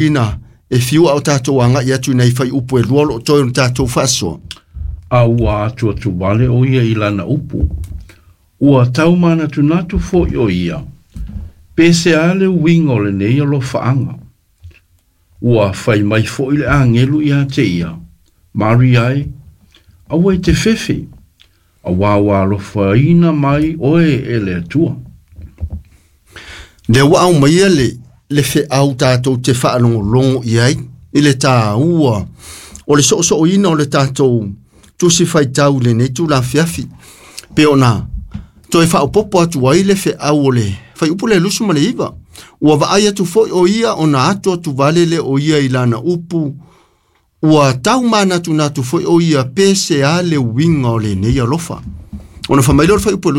Ina e fiu a o tatou agai atu i nai fuaiupu e 2 o lo o toe o le tatou faasoa. A ua atuatuvale ʻo ia i lana upu, ua taumanatunatu foi ʻo ia, pe se a le uiga o lenei alofaaga. Ua fai mai foi le agelu iā te ia, Maria e, aua e te fefe, auā ua alofaina mai oe e le Atua. Lea ua aumaia le, le feau tatou te faalogologo i ai i le tāua o le soosooina o le tatou tusi faitau i lenei tulafiafi. Pe ona toe faaopoopo atu ai le feau o le fuaiupu le 29. Ua vaai atu foi o ia ona atu atu vale le o ia i lana upu, ua tau manatunatu foi o ia pe se a le uiga o lenei alofa. Ona fai mai lea o le fuaiupu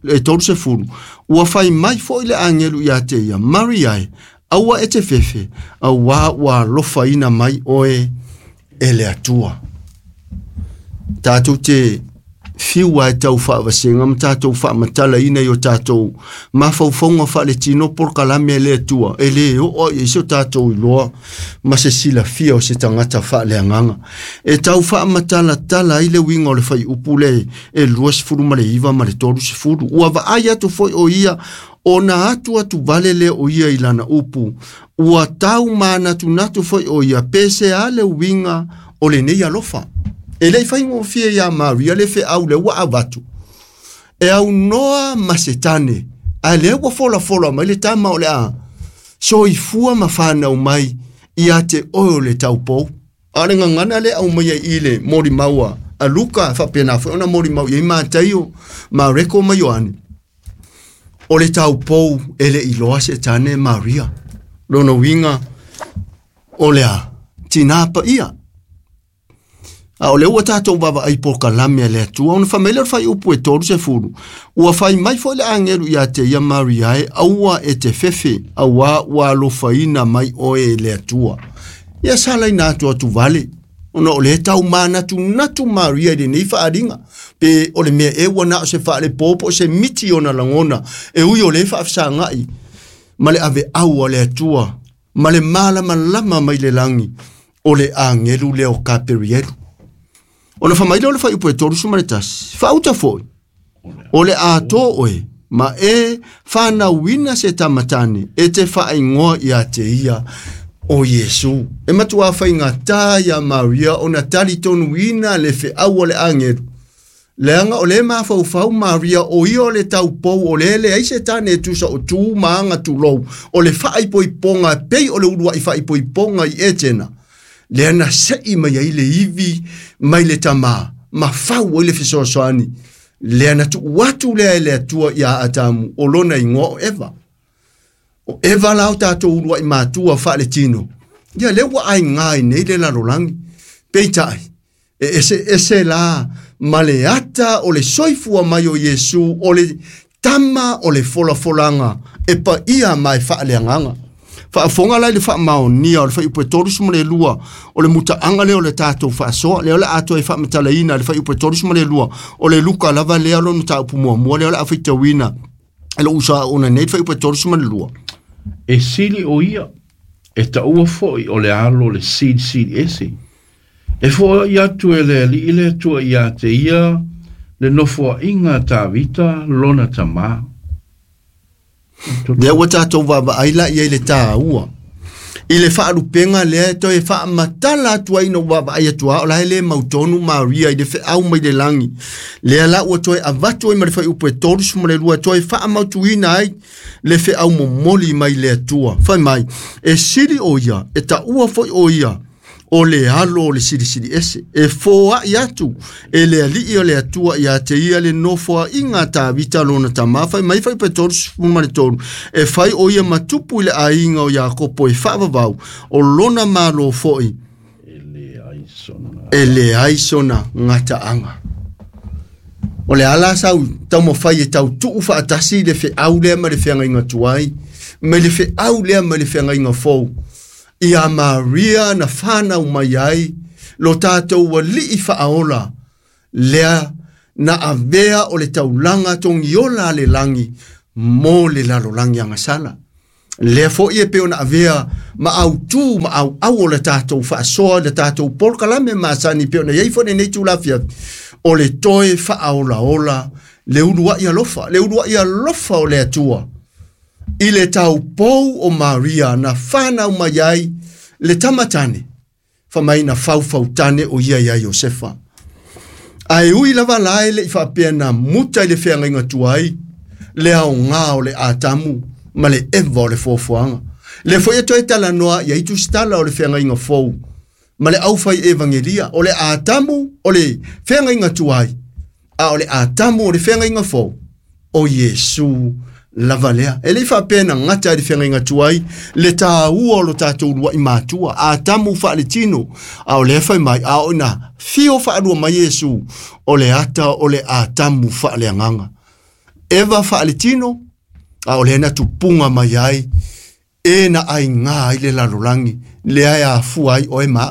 e 30, ua fai mai foi le agelu ia te ia, Maria e, aua e te fefe, auā ua alofaina mai oe e le Atua. Tatou te fiu ai tau faavasega ma tatou faamatalaina i o tatou mafaufauga faaletino polokalame a le Atua, e lē oo i ai se o tatou iloa ma se silafia o se tagata faaleagaga. E tau faamatalatala ai le uiga o le fuaiupu le e 29 ma le 30. Ua vaai atu foi o ia ona atu atu vale lea o ia i lana upu, ua tau manatunatu foi o ia pe se a le uiga o lenei alofa. E le i faigofie iā Maria le feau lea ua avatu e aunoa ma Setane, ae lea ua folafola mai le tama o le a soifua ma fanau mai ia te oe o le taupou. A o le gagana lea aumaia i le molimau a Luka, faapena foi ona molimau i ai Mataio, Mareko ma Ioane, o le taupou e le iloa Setane Maria. Lona uiga o le a tinā paia. A o lea ua tatou vaavaai polokalame a le Atua, ona fai mai lea o le fuaiupu e 30, ua fai mai foi le agelu ia te ia Maria e, aua e te fefe, auā ua alofaina mai oe e le Atua. Ia salaina atu atu vale, ona o lea tau manatunatu Maria i lenei faaaliga, pe o le mea e ua na o se faalepo po o se miti ona lagona, e ui o lea faafesagai ma le aveau a le Atua, ma le malamalama mai le lagi o le agelu lea o Kaperielu. Ona fai mai lea o le fuaiupu e 31, faauta foi, o le atoa oe, ma e fanauina se tamatane, e te faaigoa ia te ia o Iesu. E matua faigata ia Maria ona talitonuina le feau o le agelu. Leaga o le mafaufau Maria o ia o le taupou o le leai se tane e tusa o tu ma aga tulou, o le faaipoipoga pei o le uluai faaipoipoga i Etena. Lea na sei mai ai le ivi mai le tamā, ma fau ai le fesoasoani. Lea na tuu atu lea e le Atua ia Atamu, o lona igoa o Eva. O Eva la o tatou uluai matua faaletino. Ia lea ua aigā i nei le lalolagi. Peitai, e ese ese la ma le ata o le soifua mai o Iesu, o le tama o le folafolaga e paia ma e faaleagaga. Faafofoga la i le faamaonia o le fuaiupu e 32 o le mutaaga lea o le tatou faasoa, lea o le a toe faamatalaina le fuaiupu e 32 o le Luka lava lea lona mataupu muamua lea o le a faitauina e lou uso aoga nei le fuaiupu e 32. E sili ʻo ia, e taua foi o le alo le silisili ese. E foai atu e le Alii le Atua iā te ia le nofoaiga a Tavita lona tamā. Lea ua tatou vaavaai la i ai le tāua i le faalupega lea e toe faamatala atu ai ina ua vaavaai atu lava o la e le mautonu Maria i le feau mai le lagi. Lea la ua toe avatu ai ma le fuaiupu e 32 e toe faamautuina ai le feau momoli mai le Atua. Fai mai, e sili o ia, e taua foi o ia, o le alo o le silisili ese, e foai atu e le Alii o le Atua ia te ia le nofoaiga a Tavita lona tamā. Fai mai fai pe 33, e fai o ia ma tupu i le aiga o Iakopo e faavavau, o lona malo foi e leai sona gataaga. O le ala sau taumafai e tau tuu faatasi le feau lea ma le feagaiga tuai, ma le feau lea ma le feagaiga fou. Ia Maria na fanau mai ai lo tatou alii faaola, lea na avea o le taulaga togiola a le lagi mo le lalolagi agasala. Lea fo'i e pei ona avea ma autū ma auau o le tatou faasoa le tatou polokalame masani pei ona iai foi lenei tulafiafi o le toe faaolaola le ulua'i alofa, le ulua'i alofa o le Atua i le taupou o Maria na whanau mai ai le tamatane, whamaina faufautane o ia ia Iosefa. Ae ui lava la e le i faapea na muta i le feagaiga tuai, le aoga o le Atamu ma le Eva o le foafoaga. Le foi e toe talanoa ia i tusitala o le feagaiga fou ma le aufai evangelia, o le Atamu o le feagaiga tuai, a o le Atamu o le feagaiga fou, o Iesu lava lea. E le i faapea na gata i le feagaiga tuai le tāua o lo tatou lua'i matua, Atamu faaletino, a o lea fai mai, a o ina fio faalua mai Iesu, o le ata o le Atamu faaleagaga. Eva faaletino, a o lea na tupunga mai ai, e na aigā ai le lalolagi, lea e afua ai oe ma.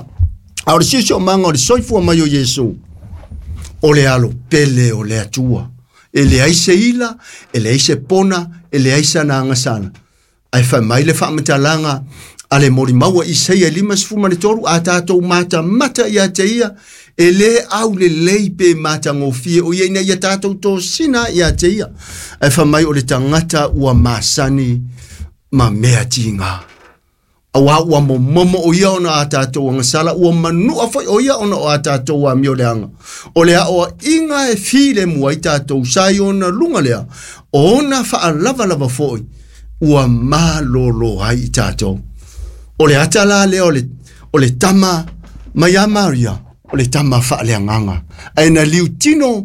A o le siosiomaga o le soifua mai o Iesu, o le alo pele o le Atua. E leai se ila, e leai se pona, e leai sana agasala. Ae fai mai le faamatalaga a le molimau a Isaia 53, a tatou matamata ia te ia, e lē aulelei pe matagofie o ia ina ia tatou tosina ia te ia. Ae fai mai o le tagata ua masani ma mea tigā. Auā ua momomo o ia ona a tatou agasala, ua manua foi o ia ona o a tatou amio leaga. O le aoaʻiga e filemu ai tatou sa i ona luga lea, o ona faalavalava foi ua malōlō ai i tatou. O le ata la lea o le tama mai ia Maria, o le tama faaleagaga. Ae na liutino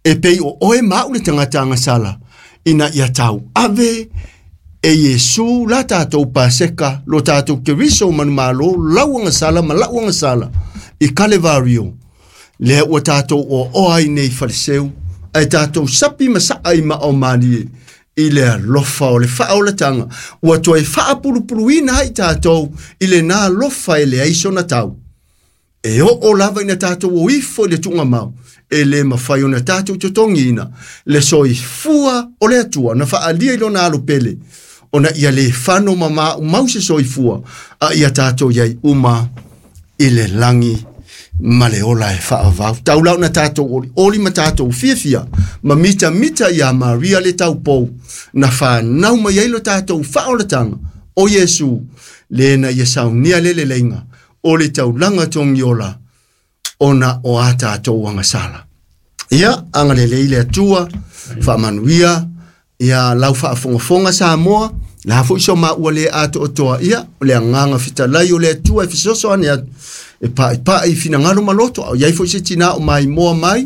e pei o oe ma a'u le tagata agasala, ina ia tau ave e Iesu la tatou paseka, lo tatou Keriso manumalo, lau agasala ma la'u agasala i Kalevario. Lea ua tatou oaoa ai nei faleseu, ae tatou sapi ma sa'a i mao malie i le alofa o le faaolataga, ua toe faapulupuluina ai tatou i lenā alofa e leai sona tau. E oo lava ina tatou o ifo i le tuugamau, e lē mafai ona tatou totogiina le soifua o le Atua na faaalia i lona alo pele, ona ia lē fano ma maumau se soifua, a ia tatou iai uma i le lagi ma le ola e faavavau. Tau la ona tatou olioli ma tatou fiafia ma mitamita iā Maria le taupou na fanau mai ai lo tatou faaolataga o Iesu, lē na ia saunia le leleiga o le taulaga togiola ona o a tatou agasala. Ia, agalelei le Atua, faamanuia ia lau faafogafoga Samoa, la foi so maua le atoatoa, ia, o le agaga fetalai o le Atua e fesoasoani atu, e pa'ipa'i i finagalo ma loto, a o iai foi se tinā o maimoa mai,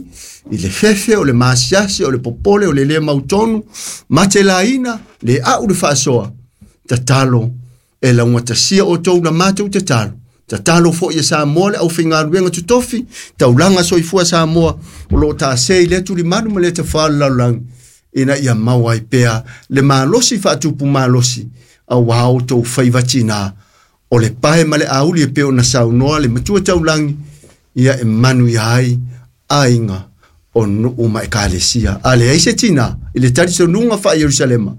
i le fefe, o le masiasi, o le popole, o le lē mautonu, matelaina, le a'u le faasoa, tatalo e laugatasia outou na matou tatalo. Tatalo foi e Samoa le aufaigaluega totofi, taulaga soifua Samoa, o loo tasē i lea tulimalu ma lea tafā le lalolagi, ina ia maua ai pea le malosi faatupu malosi, auā outou faiva tinā, o le pae ma le auli e pei ona saunoa le matua taulagi, ia e manuia ai aiga o nuu ma ekalesia. A leai se tinā i le talitonuga faa-Ierusalema,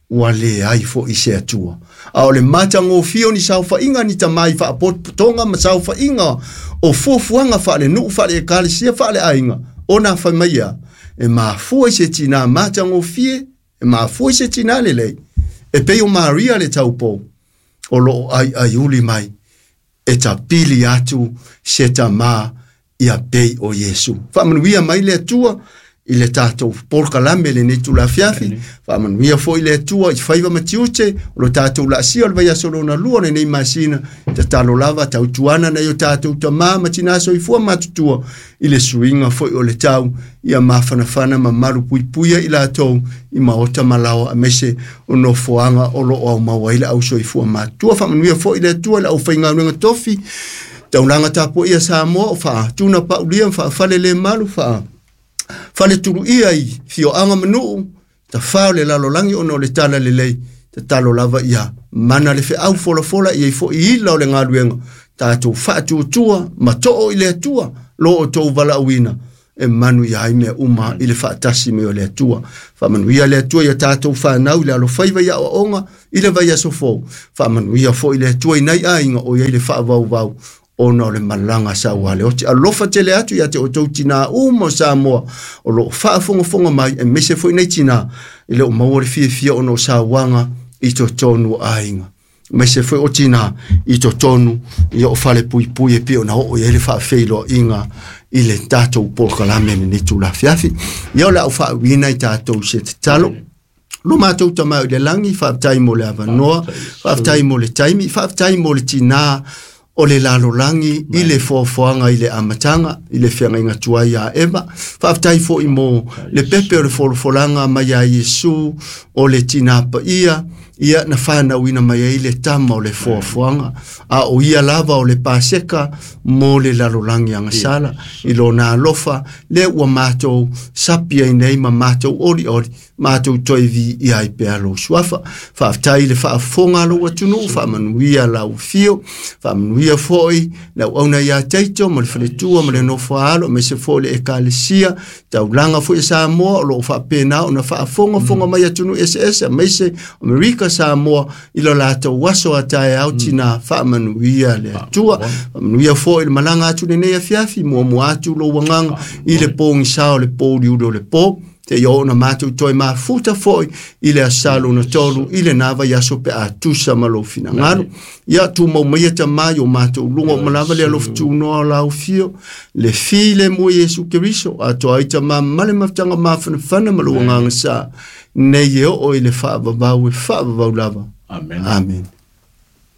ua leai fo'i se Atua. A o le matagofie o ni saofaiga ni tamā i faapotopotoga ma saofaiga o fuafuaga faalenuu faale-ekalesia faaleaiga, ona fai mai ia, e mafua i se tinā matagofie, e mafua i se tinā lelei, e pei o Maria le taupou, o loo aiaiuli mai, e tapili atu se tamā ia pei o Iesu. Faamanuia mai le Atua i le tatou polokalame lenei tulafiafi, faamanuia foi le Atua i faiva ma tiute o lo tatou laasia o le vaiaso lona lua lenei masina, tatalo lava tautuana nai o tatou tamā ma tinā soifua matutua i le suiga foi o le tau, ia mafanafana ma malu puipuia i latou i maota ma laoa aemaise o nofoaga o loo aumau ai le ausoifua matutua. Faamanuia foi le Atua i le aufaigaluega tofi, taulaga tapuaia Samoa o faatuna paulia ma faafale le malu faa fale tuluia i fioaga ma nuu tafā o le lalolagi ona o le tala lelei, tatalo lava ia mana le feau folafola ia i fo'i ila o le galuega tatou faatuatua ma too i le Atua lo outou valaauina e manuia ai mea uma i le faatasi mai o le Atua. Faamanuia le Atua ia tatou fanau i le alofaiva i aoaoga i le vaiaso fou. Faamanuia foi le Atua i nai aiga o i ai le faavauvau ona o le malaga saualeoti. Alofa tele atu ia te outou tinā uma o Samoa o loo faafogafoga mai, aemaise foi nei tinā i le o maua le fiafia ona o sauaga i totonu o aiga, aemaise foi o tinā i totonu ia o falepuipui e pei ona oo i ai le faafeiloaiga i le tatou polokalame lenei tulafiafi. Ia o le au faauiina i tatou se tatalo. Lo matou tamau i le lagi, faafetai mo le avanoa, faafetai mo le taimi, faafetai mo le tinā o le lalolagi i le foafoaga i le amataga i le feagaiga tuai ia Eva. Faafetai foi mo le pepe o le folafolaga mai ia Iesu o le tinā paia, ia na whanauina mai ai le tama o le foafoaga, a o ia lava o le paseka mo le lalolagi agasala. I lona alofa le ua matou sapi ai nei ma matou olioli, matou toe viia ai pea lou suafa. Faafetai i le faafofoga a lou atunuu, faamanuia lau afio, faamanuia foi le auauna ia Taito ma le faletua ma le nofo a alo, aemaise foi le ekalesia, taulaga foi e Samoa o loo faapena ona faafogafoga mai atunuu eseese, aemaise Amerika Samoa i lo latou aso a taeao tina. Faamanuia le Atua, faamanuia foi le malaga atu lenei afiafi, muamua atu lou agaga i le pogisa o le pouliuli o le po, te ia ona matou toe mafuta foi i le aso lona tolu i lena vaiaso pe a tusa ma lou finagalo. Ia tumau maia tamā i o matou luga o malava le alofa tunoa o lau fio, le filemu e Iesu Keriso, atoa ai tamā ma le mafutaga mafanafana ma lou agaga sa, nei e oo i le faavavau e faavavau lava. Amen. Amen.